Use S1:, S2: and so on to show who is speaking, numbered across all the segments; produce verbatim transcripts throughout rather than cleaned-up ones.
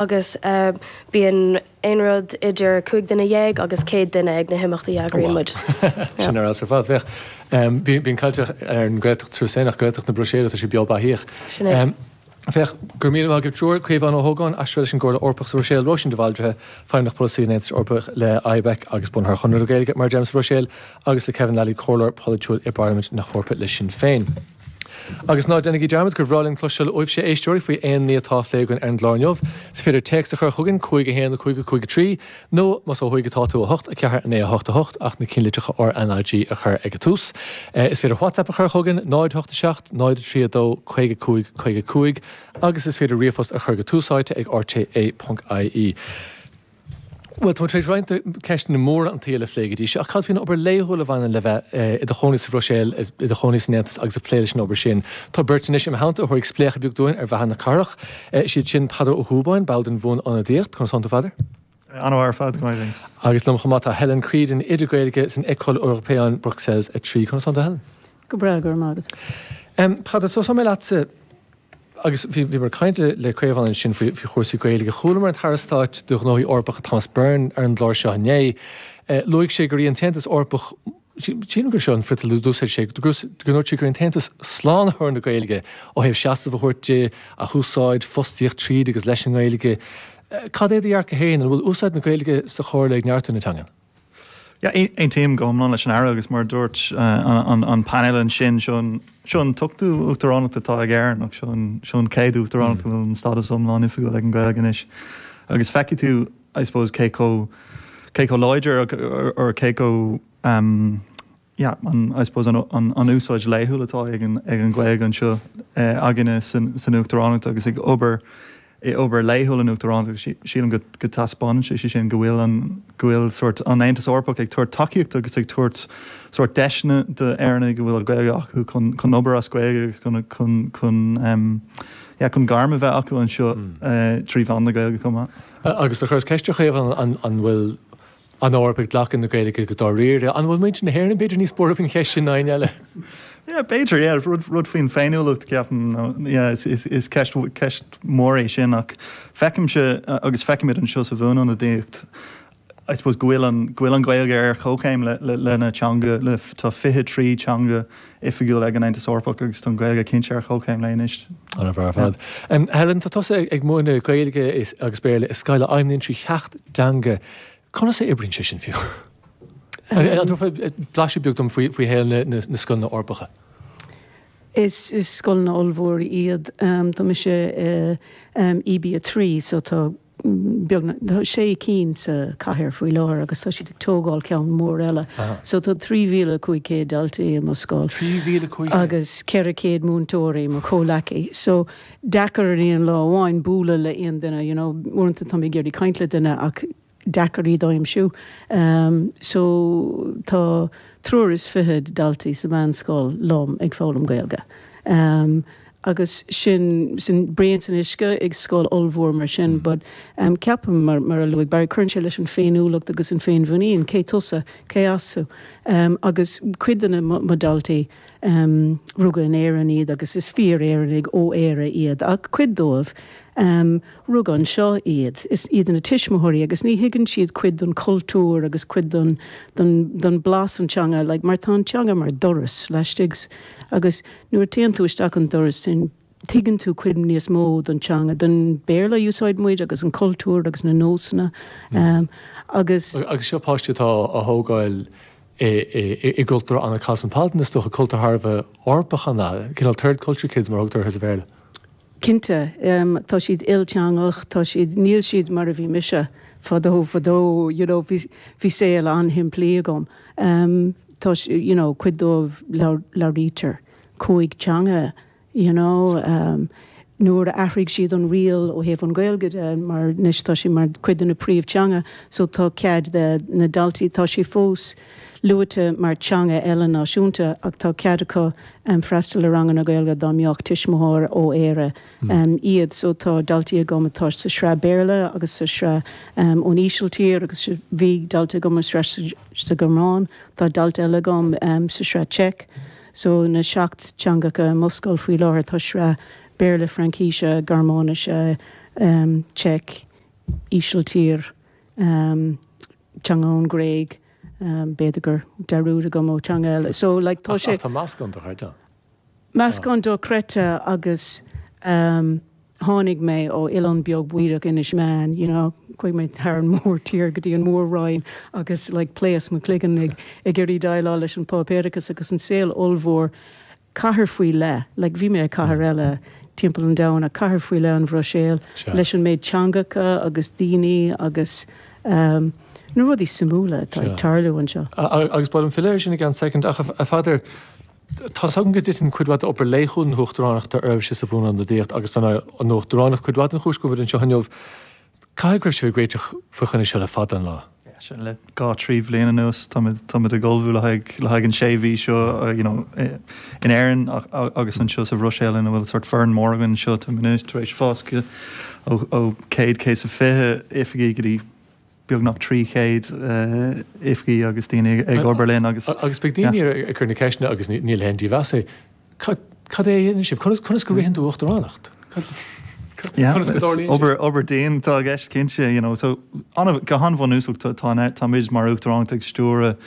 S1: Agus bíonn aon rud idir cúig duine dhéag agus céad duine ag na himeachtaí a eagraíonn muid.
S2: Sin ar fheabhas ar fad. Féach, bíonn caint ar an Ghaeltacht sa Bhruiséil ach Gaeltacht na Bruiséile, tá sé beo beathaíoch.
S1: Sin é.
S2: Féach, go raibh míle maith agaibh triúr, Caomhán Ó hÓgáin, aistritheoir leis an gComhairle Eorpach sa Bhruiséil, Róisín de Bhaldraithe, Feidhmeannach Polasaí an Aontais Eorpaigh le IBEC agus bunaitheoir Chonradh na Gaeilge, mar a deirim, sa Bhruiséil, agus le Kevin Lally, Comhairleoir Polaitiúil i bParlaimint na hEorpa le Sinn Féin. Agus ná déanaigí dearmad gur bhreá linn cloisteáil uaibhse, a éisteoirí, faoi aon ní atá á phlé againn ar an gclár inniu. Is féidir téacs a chur chugainn, cúig a haon cúig cúig a trí, nó más ó thuaidh atá tú, a hocht a ceathair naoi a hocht a hocht, ach na cinnlitreacha R N A G a chur ag an tús. Is féidir WhatsApp a chur chugainn, náid hocht a seacht, náid a trí a dó, caoga cúig, caoga cúig, agus is féidir ríomhphost a chur go túsáite ag R T É ponc I E. Bhuel, tá tar éis roinnt ceisteanna móra an tsaoil a phlé go dtí seo, ach cad faoin obair laethúil a bhaineann le bheith i do chónaí sa Bhruiséil, i do chónaí san Aontas agus ag plé leis an obair sin? Tá beirt anois i mo theannta a thabharfaidh spléachadh beag dúinn ar bheatha na cathrach. Is iad sin Peadar Ó Dhúbáin, ball den Bhuan-Ionadaíocht. Conas tánn tú, Pheadair?
S3: An-mhaith ar fad, go maith, thanks.
S2: Agus liom chomh maith tá Helen Creedon, oide Gaeilge san École Européenne Bruxelles a trí. Conas tánn tú, Helen?
S4: Go breá, go raibh maith
S2: agat. Peadar, tosóidh mé leatsa. Agus bhí bhíomar ag caint le Caomhán ansin faoi faoi chúrsaí Gaeilge. Chualamar an tAire Stáit do Ghnóthaí Eorpacha Thomas Byrne ar an gclár seo inné. Luaigh sé gur í an tAontas Eorpach, sílim gur seo an friotal a d'úsáid sé, go ndúirt sé gur í an tAontas slánaitheoir na Gaeilge ó thaobh seasamh a thabhairt di, a húsáid, fostaíocht tríd agus leis an nGaeilge. Cad é do dhearcadh féin? An bhfuil úsáid na Gaeilge sa Chomhairle ag neartú na teanga?
S3: Yeah, aontaím go hiomlán leis an Aire agus mar dúirt an an painéal ansin, seo an seo an t-ochtú uachtaránacht atá ag Éirinn ach seo an seo an chéad uachtaránacht go bhfuil an stádas iomlán oifigiúil ag an Ghaeilge anois. Agus feicfidh tú, I suppose, cé chomh cé chomh láidir or cé chomh um, yeah, an, I suppose an, an, an úsáid laethúil atá ag an, ag an Ghaeilge anseo eh, againne san, san uachtaránacht agus ag obair i obair laethúil an uachtaránacht. Sílim go go taispeánann sé sé sin go bhfuil an go bhfuil sort an Aontas Eorpach ag tabhairt tacaíocht agus ag tabhairt sort deiseanna d'Éireannaigh go bhfuil Gaeilge acu chun chun obair as Gaeilge agus chun chun chun um, yeah, chun gairm a bheith acu anseo mm. uh, trí mheán na Gaeilge chomh maith.
S2: Agus do chuireas ceist ar Chaomhán an, an bhfuil an Eoraip ag glacadh na Gaeilge go dáiríre. An bhfuil muintir na hÉireann b'fhéidir níos buartha faoin cheist sin ná éinne eile?
S3: Yeah, b'fhéidir, yeah, rud, rud faoin féiniúlacht, ceapaim, yeah, is, is, is ceist, ceist mór é sin ach feicimse agus feicimid anseo sa bhuanionadaíocht, I suppose, go bhfuil an, go bhfuil an Ghaeilge ar chomhchéim le, le, lena teanga, le, tá fiche trí teanga oifigiúil ag an Aontas Eorpach agus tá an Ghaeilge cinnte ar chomhchéim léi anois.
S2: An-mhaith ar fad. Um, Helen, tá tusa ag, ag múineadh Gaeilge is, agus Béarla i scoil a fheidhmíonn trí sheacht dteanga. Conas a oibríonn sé sin fiú? An dtabharfá blaiseadh beag dom faoi, faoi shaol na, na, na scoileanna Eorpacha?
S4: Is, is scoileanna ollmhóra iad. Um, tá mise uh, um, E B a trí, so tá beag tá sé cinn sa chathair faoi láthair agus tá siad ag tógáil ceann mór eile. So tá trí mhíle cúig chéad daltaí i mo scoil.
S2: Trí mhíle cúig
S4: Agus ceithre chéad múinteoirí, mo chomhleacaí. So deacair ar aon lá amháin bualadh le aon duine, you know, uaireanta tá mé ag iarraidh caint le duine ach deacair iad a aimsiú. Um, so tá triúr is fiche daltaí sa mheánscoil liom ag foghlaim Gaeilge. Um, agus sin sin braon san uisce ag scoil ollmhór mar sin, mm. but um, ceapaim mar, mar a luaigh Barry, cuireann sé leis an féiniúlacht agus an féinmhuinín, cé tusa, cé as tú. Um, agus cuid de na mo daltaí um, rugadh in Éirinn iad agus is fíor-Éireannaigh ó Éire iad ach cuid dóibh um, rugadh anseo iad, is iad na tuismitheoirí agus ní thuigeann siad cuid den cultúr agus cuid den, den, den blas an teanga, like, mar tá an teanga mar doras laistigh agus nuair a théann tú isteach an doras sin tuigeann tú cuid níos mó den teanga, den Béarla úsáid muid agus an cultúr agus na nósanna um, agus
S2: Agus seo páistí atá á thógáil i gcultúr an-cosmopolitan, is dócha, cultúr thar a bheith Eorpach an cineál third culture kids mar thugtar sa Bhéarla.
S4: Cinnte, um, tá siad ilteangach, tá siad, níl siad mar a bhí mise fadó fadó, you know, bhí bhí saol an-shimplí agam. Um, tá you know, cuid dóibh labhraítear cúig teanga, you know, um, nuair a athraigh siad an riail ó thaobh an Ghaeilge de, mar anois tá sé mar cuid de na príomhteanga, so tá cead de na daltaí, tá sé fós luaite mar teanga eile náisiúnta ach tá cead acu um, freastal ar ranganna Gaeilge dá mbeadh tuismitheoir ó Éire um, iad, so tá daltaí agam atá sa sraith Béarla agus sa sraith um, ón Ísiltír agus bhí dalta agam sa sa Ghearmáin, tá dalta eile agam um, sa sraith Czech, so na seacht teangacha i mo scoil faoi láthair, tá sraith Béarla, Fraincise, Gearmáinise, um, Czech, Ísiltír, um, teanga ón Gréig, um, b'fhéidir gur dearúd agam ó teanga eile. So like tá sé
S2: Tá meascán dochreidte.
S4: Meascán dochreidte agus um, tháinig mé ó oileán beag bídeach Inis Meáin, you know, chuaigh mé thar an mórtír go dtí an Mhór-Roinn agus like pléasc mo chloigeann ag ag iarraidh déileáil leis an páipéarachas agus an saol ollmhór cathair faoi leith, like bhí mé i cathair eile timpeall an domhain, ach cathair faoi leith an Bhruiséil leis an méid teangacha agus daoine agus um, na rudaí suimiúla atá ag tarlú anseo.
S2: Agus ba mhaith liom filleadh air sin i gceann soicind ach a Pheadair, tá 's agam go dtiteann cuid mhaith d'obair laethúil na hUachtaránachta oraibhse sa Bhuanionadaíocht agus tá an Uachtaránacht cuid mhaith den chúis go bhfuil muid anseo inniu. Caithfidh go raibh sibh ag réiteach faoi choinne seo le fada an lá.
S3: Sin le dhá trí bhliain anuas táimid táimid ag ullmhú le haghaidh le haghaidh an sé mhí seo you know in Éirinn agus anseo sa Bhruiséil ina bhfuil sort foireann mór againn anseo táimid anois tar éis fás go ó ó céad céad is a fiche oifigigh go dtí beagnach trí chéad oifigigh agus daoine ag obair linn agus
S2: Agus beidh daoine ag cur na ceisteanna agus níl aon dímheas é. Cad é a dhéanann sibh? Conas conas go ritheann tú uachtaránacht?
S3: Conas go dtarlaíonn sé? Obair obair dian atá i gceist cinnte, you know. So go han-bhunúsach tá táimid mar uachtaránacht ag stiúradh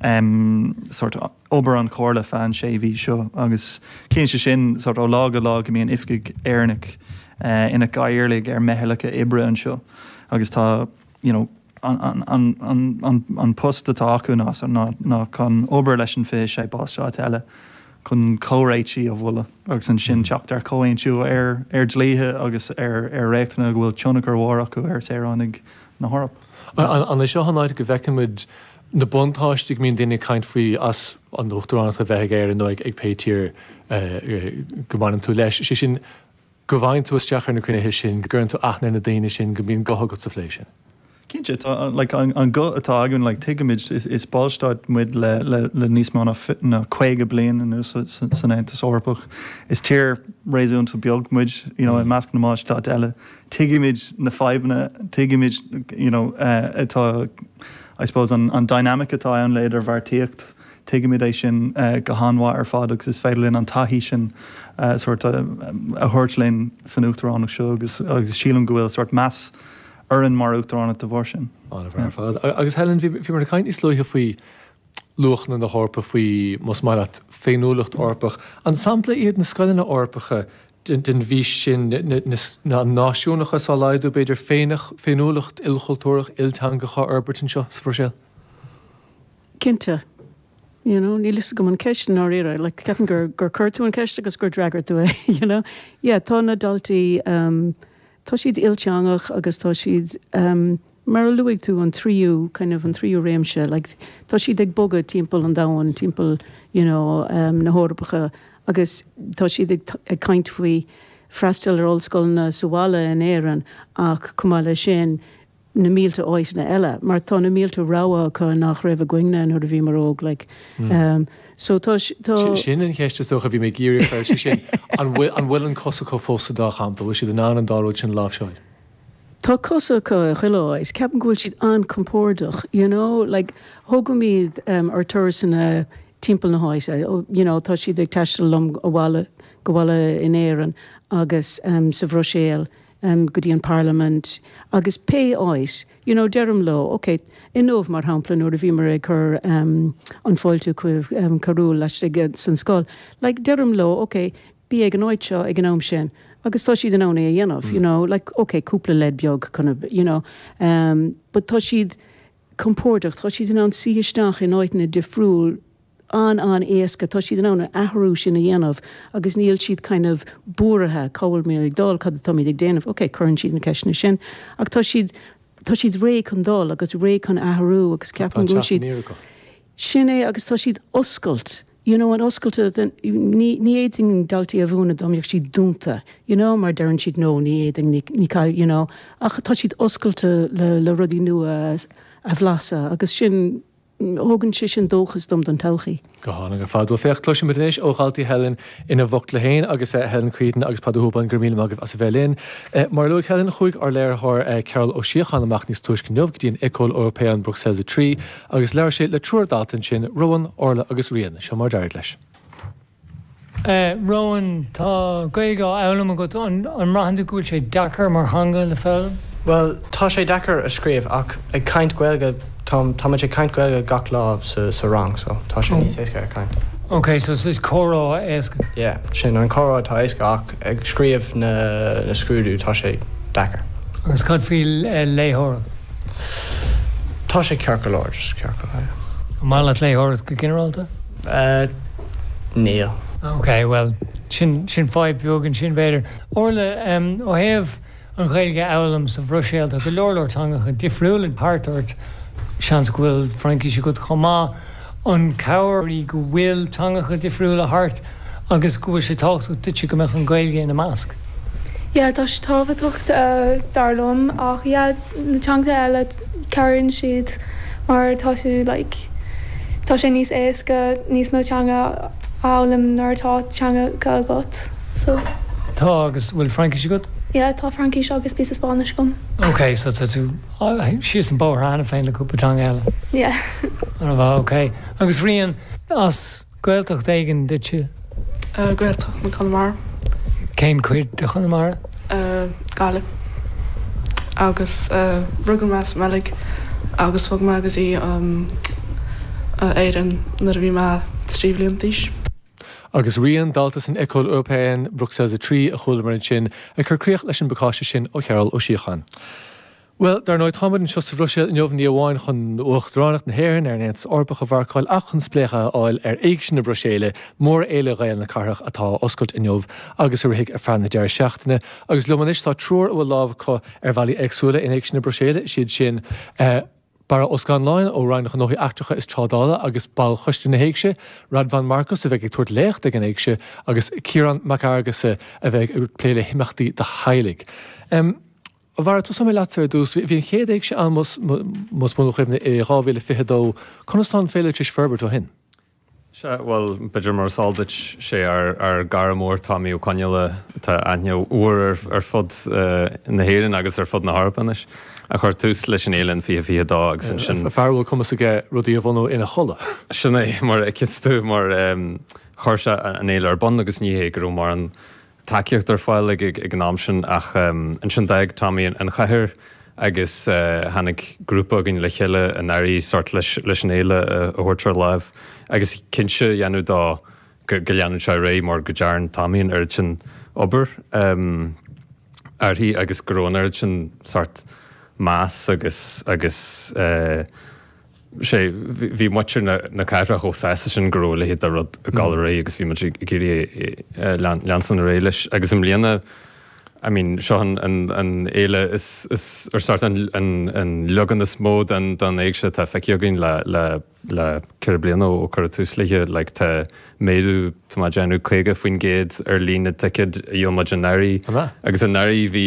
S3: um, sort obair an Chomhairle feadh an sé mhí seo agus cinnte sin sort ó lá go lá go mbíonn oifigigh Éireannach uh, ina gcathaoirligh ar meithleacha oibre anseo agus tá you know, an, an, an, an, an post atá acu ná ná, ná chun obair leis an fiche sé ballstát eile chun comhréitigh a mholadh agus ansin teacht ar comhaontú ar ar dlíthe agus ar ar reachtanna go bhfuil tionchar mhór acu ar shaoránaigh na hEorpa.
S2: An é seo an áit go bhfeiceann muid na buntáistí go mbíonn daoine ag caint faoi as an uachtaránacht a bheith ag Éirinn nó ag pé tír go mbaineann tú leis, sé sin go bhfaigheann tú isteach ar na cruinnithe sin, go gcuireann tú aithne ar na daoine sin, go mbíonn guth agat sa phlé sin?
S3: Cinnte, tá, like, an, an guth atá againn, like, tuigimid, is, is ballstát muid le, le, le níos mó ná, ná caoga bliain anuas san Aontas Eorpach. Is tír réasúnta beag muid, you know, i measc na mballstát eile. Tuigimid na fadhbanna, tuigimid, you know, uh, atá, I suppose, an, an dynamic atá ann le idirbheartaíocht, tuigimid é sin uh, go han-mhaith ar fad agus is féidir linn an taithí sin uh, sort a, a thabhairt linn san uachtaránacht seo agus, agus sílim go bhfuil sort meas orainn mar uachtaránacht de bharr sin.
S2: An-mhaith ar fad. Agus Helen, bhí bhíomar ag caint níos luaithe faoi luachanna na hEorpa, faoi, más maith leat, féiniúlacht Eorpach. An sampla iad na scoileanna Eorpacha den den bhfís sin, na náisiúnachas á laghdú, b'fhéidir, féiniúlacht ilchultúrach, ilteangach á fhorbairt anseo sa Bhruiséil?
S4: Cinnte. You know, níl fhios agam an ceist i ndáiríre, like, ceapaim gur gur chuir tú an ceist agus gur d'fhreagair tú é, you know. Yeah, tá na daltaí, um, tá siad ilteangach agus tá siad, um, mar a luaigh tú an tríú, kind of an tríú réimse, like, tá siad ag bogadh timpeall an domhain, timpeall, you know, um, na hEorpacha agus tá siad ag, ag caint faoi freastal ar ollscoileanna sa bhaile in Éirinn ach chomh maith leis sin, na mílte áiteanna eile, mar tá na mílte rogha acu nach raibh againne nuair a bhíomar óg, like, um, so tá, tá.
S2: Sin an cheist is dócha a bhí mé ag iarraidh a chur, sé sin, an bhfuil, an bhfuil an cos acu fós sa dá champa, bhfuil siad in ann an dá rud sin a láimhseáil?
S4: Tá cos acu i chuile áit, ceapaim go bhfuil siad an-compordach, you know, like, thógaimid um, ar turasanna timpeall na háite, you know, tá siad ag taisteal liom abhaile, go bhaile in Éirinn agus um, sa Bhruiséil, um, go dtí an Parlaimint agus pé áit, you know, deirim leo, ok, inniu mar shampla nuair a bhíomar ag cur um, an fáiltiú chuig um, carúil laistigh san scoil, like, deirim leo, ok, bí ag an áit seo ag an am sin, agus tá siad in ann é a dhéanamh, mm. you know, like, ok, cúpla leid beag kind of, you know, um, but tá siad compordach, tá siad in ann suí isteach in áiteanna difriúil an-an-éasca, tá siad in ann an athrú sin a dhéanamh agus níl siad kind of buartha cá bhfuil mé ag dul, cad atáimid ag déanamh, ok, cuireann siad na ceisteanna sin ach tá siad, tá siad réidh chun dul agus réidh chun athrú agus ceapaim go bhfuil siad, sin é agus tá siad oscailt, you know, an oscailte den, ní, ní fhéadfainn daltaí a mhúineadh dá mbeadh siad dúnta, you know, mar deireann siad no, ní fhéadfainn, ní, ní, you know, ach tá siad oscailte le, le rudaí nua a bhlaiseadh agus sin, Thógann sé sin dóchas dom don todhchaí.
S2: Go hálainn ar fad. Bhuel, féach, cloisfimid anois ó dhaltaí Helen ina bhfocla féin agus Helen Creedon agus Peadar Ó Húpáin, go raibh míle maith agaibh as a bheith linn. Mar a luaigh Helen, chuaigh ár léiritheoir Cearbhall Ó Síocháin amach níos túisce inniu go dtí an École Européenne Bruxelles a trí agus labhair sé le triúr dalta ansin, Rowan, Orla agus Rían. Seo mar a d'éirigh leis.
S5: Rowan, tá Gaeilge á fhoghlaim agat, an mbraitheann tú go bhfuil sé deacair mar theanga le foghlaim? Well, tá sé deacair a scríobh ach ag caint Gaeilge tá ag caint Gaeilge gach lá sa, sa rang, so tá sé níos éasca ag caint.
S6: Ok, so is comhrá éasca.
S5: Yeah, sin an comhrá tá éasca ach ag scríobh na, na scrúdú tá sé deacair.
S6: Agus cad faoi léitheoireacht?
S5: Tá sé ceart go leor just ceart go leor.
S6: Maith leat léitheoireacht go ginearálta?
S5: Uh, Níl.
S6: Ok, well sin sin fadhb beag ansin b'fhéidir. Orla um, ó thaobh an Ghaeilge a fhoghlaim sa Bhruiséil tá go leor leor teangacha difriúla thart ort seans go bhfuil Fraincis agat chomh maith an cabhair í go bhfuil teangacha difriúla thart agus go bhfuil sé tábhachtach duit go mbeadh an Ghaeilge ina measc.
S7: Yeah, tá sé tábhachtach uh, dar liom ach yeah, na teanga eile cabhraíonn siad mar tá tú like, tá sé níos éasca níos mó teanga a fhoghlaim nuair atá teanga agat. So
S6: Tá agus bhfuil Fraincis agat?
S7: yeah, tá Fraincis agus píosa Spáinnis agam.
S6: Ok, so tá tú síos an bóthar cheana féin le cúpla teanga eile.
S7: Yeah.
S6: An bhá ok. Agus Rian as Gaeltacht éigin duitse?
S8: Uh, Gaeltacht na Conamara.
S6: Cén cuid de Chonamara?
S8: Uh, Gaillimh. Agus uh, rugadh mé sa mBeilg agus bhog mé go dtí um, uh, Éirinn nuair a bhí mé trí bliana d'aois.
S2: Agus Rian dalta san École Européenne Bruxelles a trí a chualamar ansin ag cur críoch leis an bpacáiste sin ó Chearl Ó Síocháin. Well, dar ndóigh táimid anseo sa Bhruiséil inniu ní amháin chun Uachtaránacht na hÉireann ar an Aontas Eorpach a mharcáil ach chun spléachadh a fháil ar Éigse na Bruiséile mórfhéile Ghael na cathrach atá oscailt inniu agus a rithfidh ar feadh na deireadh seachtaine, agus liom anois tá triúr a bhfuil lámh acu ar bhealaí éagsúla in Éigse na Bruiséile siad sin uh, Barra Ó Scanláin ó Roinn na Gnóthaí Eachtracha is Trádála agus ball Choiste na hÉigse, Radvan Markus a bheidh ag tabhairt léacht ag an Éigse agus Ciarán Mac Fhearghusa a bheidh ag plé le himeachtaí do theaghlaigh. Um, Bhar tú mé leat ar dtús, bhí an chéad Éigse ann más mo chuimhne i dhá mhíle fiche dó, conas tá an féile tar éis forbairt ó shin.
S9: Sea, bhuel, b'fhéidir mar is eol duit sé ár ár gcara mór Tommy Ó Conghaile tá aithne mhór ar ar fud uh, na hÉireann agus ar fud na hEorpa anois a chuir tús leis an fhéile in fiche fiche dó agus ansin
S2: fear a bhfuil cumas aige rudaí a bhunú ina chodladh.
S9: Sin é mar a fheiceann tú mar um, chuir sé an fhéile ar bun agus ní hé go raibh mórán tacaíocht ar fáil ag ag an am sin ach um, ansin d'fhág Tommy an, an chathair agus uh, tháinig grúpa againn le chéile anuraidh sort leis, leis an fhéile a thabhairt ar láimh agus cinnte a dhéanamh dó go, go leanann sé ar aghaidh mar go dtearn Tommy an oiread sin obair um, uirthi agus go raibh an oiread sin sort meas agus agus uh, sé bhí muintir na, na cathrach chomh sásta sin go raibh a leithéid de rud ag dul ar aghaidh agus bhí muid ag iarraidh leanstan ar aghaidh leis agus i mbliana I mean, seo an, an, an fhéile is, is ar sort an, an, an leagan is mó den, den éigse atá feicthe againn le, le, le ceithre bliana ó cuireadh tús léi, like, tá méadú tá mé ag déanamh caoga faoin gcéad ar líon na dticéad a dhíol muid anuraidh. Agus anuraidh bhí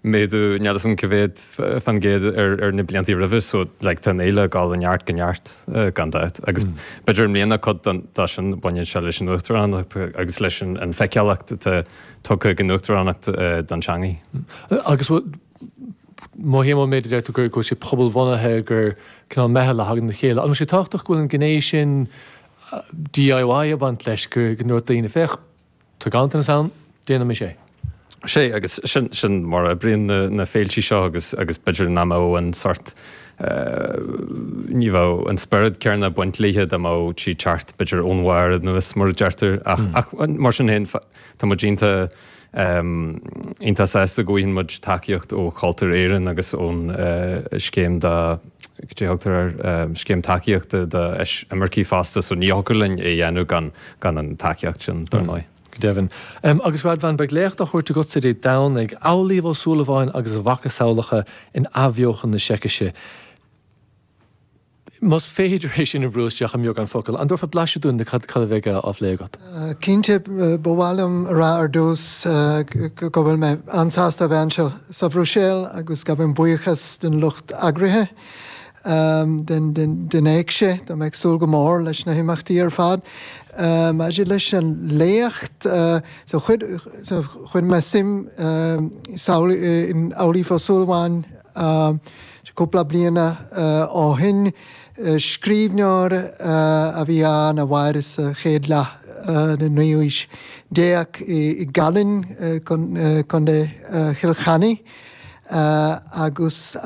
S9: méadú níl a fhios agam cá mhéad faoin gcéad ar, ar na blianta roimhe, so like, tá an fhéile ag dul ó neart go neart uh, gan dabht. Agus mm. b'fhéidir i mbliana cuid de sin baineann sé leis an uachtaránacht agus leis an, an feiceálacht atá tugtha ag an uachtaránacht uh, don teangaidh.
S2: Agus mothaím ón méid a deir tú gur go bhfuil sé pobalbhunaithe gur cineál meitheal a thagann le chéile. An bhfuil sé tábhachtach go bhfuil an gné sin DIY ag baint leis gur go ndúirt daoine féach tá ganntanas ann, déanaimis é.
S9: Sé agus sin, sin mar a oibríonn na, na féiltí seo agus, agus b'fhéidir nach mbeadh an sort uh, ní bheadh an spiorad céanna ag baint léi dá mbeadh sí ag teacht b'fhéidir ón bharr anuas mar a deirtear ach, mm. ach mar sin féin tá muid iontach um, iontach sásta go bhfaigheann muid tacaíocht ó Chultúr Éireann agus ón uh, scéim da thugtar ar um, scéim tacaíochta do imircigh fosta so ní thiocfadh linn é dhéanamh gan gan an tacaíocht sin dar ndóigh.
S2: Go deimhin. Um, agus Radvan beidh léacht á thabhairt agatsa Dé Domhnaigh Amhlaoibh Ó Súilleabháin agus a mhacasamhlacha in athbheochan na Seicise. Más féidir é sin a bhrú isteach i mbeagán focal, an dtabharfá blaiseadh dúinn de cad cad a bheidh á phlé agat?
S10: Cinnte ba mhaith liom a rá ar dtús go bhfuil mé an-sásta a bheith anseo sa Bhruiséil agus gabhaim buíochas den lucht eagraithe den, den, den éigse, Tá mé ag súil go mór leis na himeachtaí ar fad. Maidir leis an léacht so chuir mé suim in Amhlaoibh Ó Súilleabháin cúpla bliana ó shin. Scríbhneoir a bhí ann a mhair sa chéad leath den naoú haois déag i gCallainn, Contae Chill Chainnigh. agus